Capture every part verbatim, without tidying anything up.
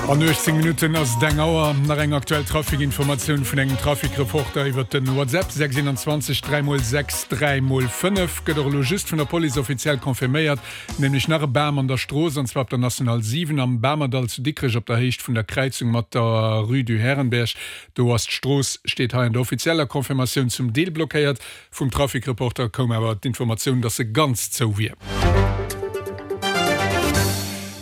An uechtzéng Minutten ass et eng Auer. Nach eng aktuell Trafikinformatioun vun engem Trafikreporter iwwert den WhatsApp, sechs einundzwanzeg dräi mol sechs dräi mol fënnef. Gëtt och elo just vun der Police offiziell confirméiert, nämlech nach e Bam an der Strooss, an zwar op der National siwen am Bamerdall zu Dikrech op der Héicht vun der Kräizung mat der Rue du Herrenberg. Do ass d'Strooss, steet hei an der offizieller Confirmatioun, zum Deel blockéiert. Vum Trafikreporter koum awer d'Informatioun, dass se ganz zou wier.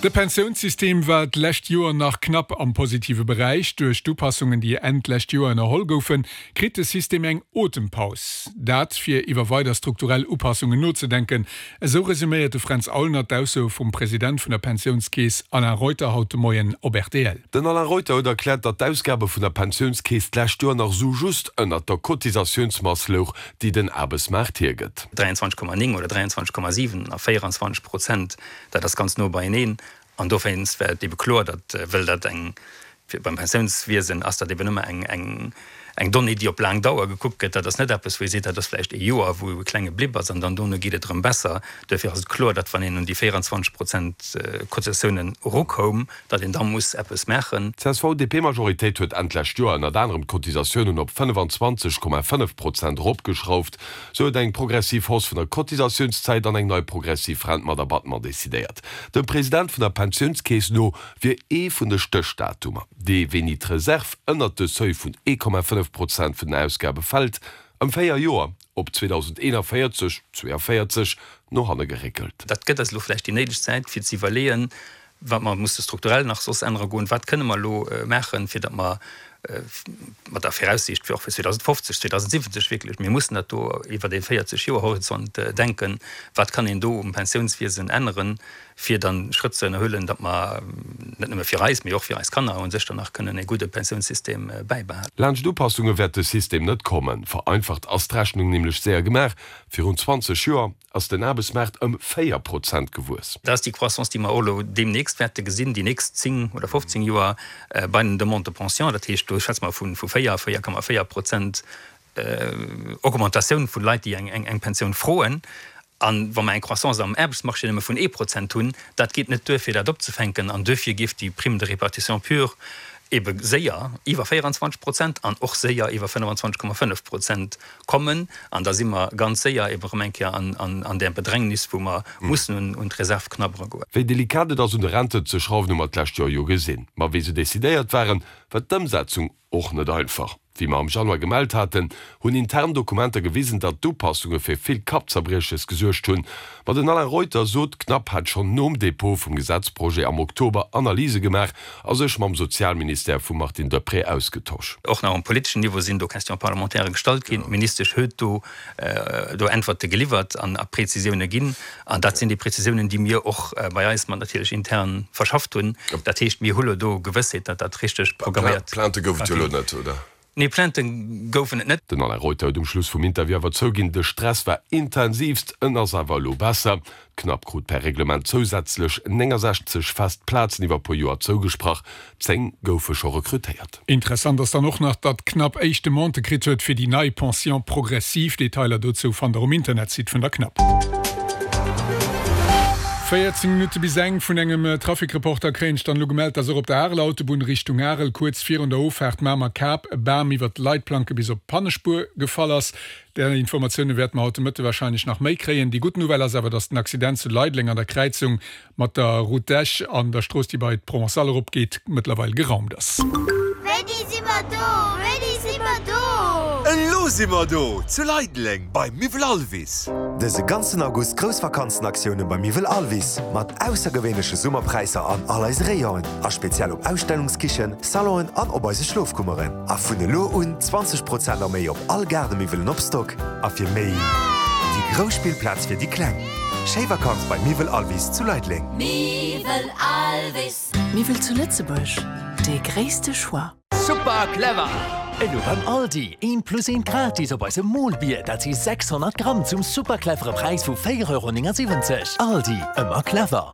De Pensiounssystem war d'lescht Joer nach knapp am positive Beräich. Duerch d'Upassungen, déi Enn d'lescht Joer ënnerholl goufen, kritt de System eng Otempaus. Dat, fir iwwer weider strukturell Upassungen nozedenken. Esou resuméiert de Fränz Aulner d'Aussoe vum President vun der Pensiounskeess Alain Reuter haut de Moien op rtl. Den Alain Reuter huet erkläert, datt d'Ausgabe vun der Pensiounskeess d'lescht Joer nach esou just ënnert der Cotisatiounsmass louch, déi den Aarbechtsmaart hiergëtt. dräianzwanzeg Komma néng oder dräianzwanzeg Komma siwen a véieranzwanzeg Prozent, dat ass ganz no beieneen. An dowéinst war et ebe kloer, datt, well dat eng, fir beim Pensiounswiesen ass dat eben ëmmer eng, eng, eng Donnée, déi op laang Dauer gekuckt gëtt. Dat ass net eppes, wou ee seet, dat ass vläicht ee Joer, wou e klenge Blip ass an dann dono geet et erëm besser. Duerfir ass et kloer, datt wann een un déi véieranzwanzeg Prozent Cotisatiounen erukoum, datt een da muss eppes maachen. D'CSV-DP-Majoritéit huet Enn d'lescht Joer ënnert anerem d'Cotisatiounen op fënnefanzwanzeg Komma fënnef Prozent eropgeschrauft. Sou huet eng progressiv Hausse vun der Cotisatiounszäit an eng nei progressiv Rent mat Abattement decidéiert. Dem President vun der Pensiounskeess no wier ee vun de Stéchdatumer, dee wéini d'Reserv ënnert de Seuil vun ee Komma fënnef Prozent vun den Ausgabe fält, ëm véier Joer, op zweedausendeenavéierzeg, zweeavéierzeg, no hanne geréckelt. Dat gëtt eis elo vläicht déi néideg Zäit, fir ze iwwerleeën, wat mer musse strukturell nach soss ännere goen, wat kënne mer elo maachen, fir datt mer mat der Viraussiicht fir och fir zweedausendfofzeg, zweedausendsiwwenzeg wierklech, mir mussen dat do iwwert ee véierzeg Joer Horizont denken, wat kann een do um Pensiounswiesen änneren, fir dann Schrëtt ze ënnerhuelen, datt mer net nëmme fir eis, mee och fir eis Kanner u sech dann nach kënnen e gudde Pensiounssystem bäibehalen. Laanscht Upassunge wäert de System net kommen. Vereinfacht ass d'Rechnung nämlech séier gemaach, Virun zwanzeg Joer ass den Aarbechtsmaart ëm véier Prozent gewuess. Dat ass déi Croissance, déi mer och elo deemnächst wäerte gesinn, déi nächst zéng oder fofzéng Joer bei den Demandes de pension. Dat heescht, do schwätze mer vu véier, véier Komma véier Prozent Augmentatioun vu Leit, déi eng Pensioun froen. A wa mer eng Croissance am Aarbechtsmarché nëmme vun ee Prozent hunn, dat geet net duer, fir dat opzefänken. An duerfir géif déi Prime de répartition pure ebe séier iwwer véieranzwanzeg Prozent an och séier iwwer fënnefanzwanzeg Komma fënnef Prozent kommen. An da si mer ganz séier ebe erëm eng Kéier an där Bedrängnis, wou mer mussen un d'Reserv knabbere goen. Wéi delikat et ass, un de Renten ze schrauwen, hu mer d'lescht Joer jo gesinn. Ma wéi se decidéiert waren, war d'Ëmsetzung och net einfach. Wéi mer am Januar gemellt haten, hunn intern Dokumenter gewisen, datt d'Upassunge fir vill Kappzerbrieches gesuergt hunn. Ma den Alain Reuter sot, d'Cnap hätt schonn nom Depot vum Gesetzprojet am Oktober Analyse gemaach a sech mam Sozialministère vum Martine Deprez ausgetosch. Och nach um politeschen Niveau sinn do Questions parlementaires gestallt ginn. D'Ministesch huet do do Äntwerte geliwwert an a Prezisioune ginn. An dat sinn déi Prezisiounen, déi mir och bei eis mat natierlech intern verschafft hunn. Dat heescht, mir hu lo do Gewëssheet, datt dat richteg programméiert Plainte gouf et jo elo net, oder? Nee, Plainte goufen et net. Den Alain Reuter huet um Schluss vum Interview awer zouginn, de Stress war intensivst, en ass awer elo besser. D'Cnap krut per Reglement zousätzlech néngensechzeg fest Plazen iwwer e puer Joer zougesprach, zéng goufe scho rekrutéiert. Interessant ass dann och nach, datt d'Cnap éischt Demandë kritt huet fir déi nei Pension progressive. Detailer dozou fannt der um Internetsite vun der Cnap. véierzéng Minutte bis eng. Vun engem Trafikreporter kréien ech dann elo gemellt, dass och op der Areler Autobunn Richtung Arel kuerz virun der Ofaart Mamer-Kap e Bam iwwert d'Leitplanke bis op d'Pannespuer gefall ass. Där Informatioune wäerte mer haut de Mëtte warscheinlech nach méi kréien. Déi gutt Nouvelle ass awer, dass den Accident zu Leideleng an der Kräizung mat der Route d'Esch an der Strooss, déi bei d'Provençale eropgeet, mëttlerweil geraumt ass. Wéini si mer do? Wéini si mer do? Elo si mer do! Zu Leideleng beim Miwwel Alvis! Dëse ganzen August grouss Vakanzenaktioune beim Miwwel Alvis mat aussergewéinleche Summerpräisser an all eise Rayonen a speziell op Ausstellungskichen, Salonen an op eise Schlofkummeren. A vun elo un zwanzeg Prozent a méi op all Gaardemiwwelen op Stock. A fir méi déi grouss Spillplaz fir déi Kleng. Schéi Vakanz bei Miwwel Alvis zu Leideleng. Miwwel Alvis. Miwwel zu Lëtzebuerg, dee gréisste Choix. Super clever! Elo beim Aldi, eent plus eent gratis op eisem Molbier, dat si sechshonnert Gramm zum super clevere Präis vu véier Euro néngasiwwenzeg. Aldi, ëmmer clever!